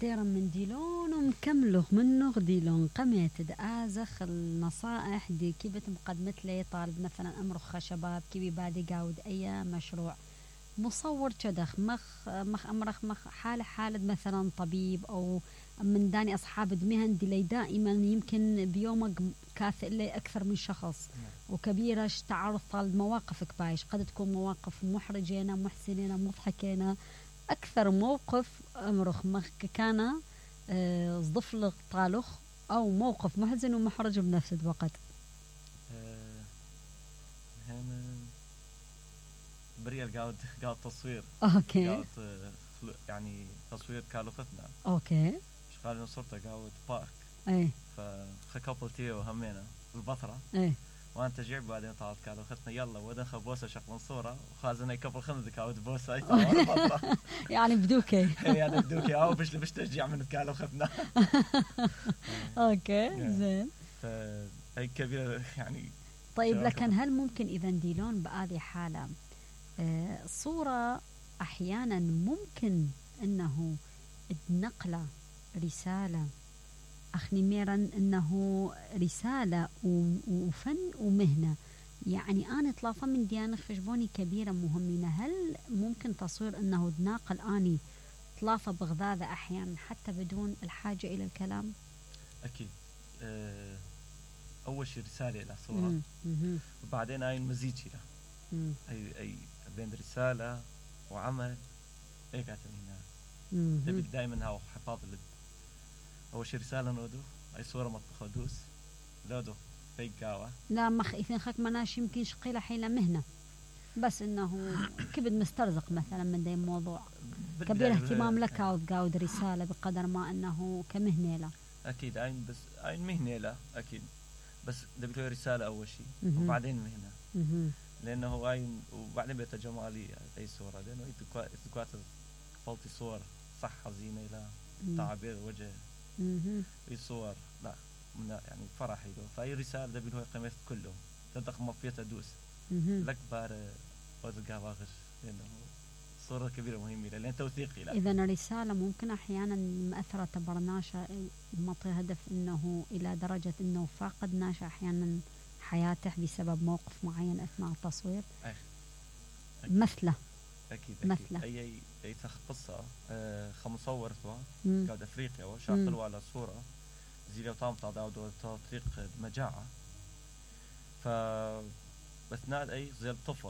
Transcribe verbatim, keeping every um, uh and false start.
ديرا من ديلون ومكملوغ منوغ ديلون قميت دآزخ النصائح دي كيف مقدمت لي طالب مثلا أمرخ شباب كيف بادي قاود أي مشروع مصور كدخ مخ مخ أمرخ مخ حالة حالة مثلا طبيب أو من داني أصحاب المهن دي لي دائما يمكن بيومك كاثئ لي أكثر من شخص وكبيرش تعرض طال مواقفك بايش قد تكون مواقف محرجينة محسنينة مضحكينة أكثر موقف أمرخ مخ كان صدفلق طالخ أو موقف محزن ومحرج بنفس الوقت. أه هنا بريال قاعد قاعد تصوير. أوكي. قاعد يعني تصوير كالوختنا. أوكي. شغالين صورته قاعد بارك. إيه. فخكابلتي وهمينا البطرة. إيه. وانت جيب بعدين طالت قالوا ختنا يلا ودن خبوسه شغلن صوره وخازن كبل خندق او بوسه يعني بدوكي يعني بدوكي او باش باش تشجع من قالوا ختنا. اوكي زين. فهي كبيره يعني. طيب لكن هل ممكن اذا نديلون بهذه حاله آه صوره احيانا ممكن انه تنقله رساله أخني ميرا أنه رسالة وفن ومهنة يعني أنا طلافة من ديانة خشبوني كبيرة مهمين هل ممكن تصوير أنه تناقل أني طلافة بغذاذة أحيانا حتى بدون الحاجة إلى الكلام؟ أكيد. أه أول شيء رسالة إلى صورة وبعدين أي مزيج إلى أي أي بين رسالة وعمل إيه قاعد هنا تبي دائما هاو حفاظ لد أول شيء رسالة نودو أي صورة مطبخة دوس لودو في قاوة لا مخ إذن خاك مناش يمكن شقيلة حيلة مهنة بس إنه كبد مسترزق مثلا من دي موضوع كبير اهتمام لك قاود قاود رسالة بقدر ما أنه كمهنة لا أكيد أين بس أين مهنة لا أكيد بس دبيتوي رسالة أول شيء وبعدين مهنة لأنه أين وبعدين بيت جمالي أي صورة لأنه يتقوات فلتي صور صح حزينة لا تعبير وجه في صور لا من يعني فرحي له فأي رسالة ده بينه قيمة كله تدخ مفيته دوس لك بار وزقها واغش لأنه صورة كبيرة مهمة لأن توثيقي لا إذا الرسالة ممكن أحيانا مأثرة برناشة مطي هدف إنه إلى درجة إنه فاقد ناشا أحيانا حياته بسبب موقف معين أثناء التصوير أي. مثله أكيد مثله أكيد. أي أي قصة آه خمصور سوا قاعد أفريقيا وشاطلوا على صورة زي لو طعم تعداو تطريق مجاعة فأثناء أي زي الطفل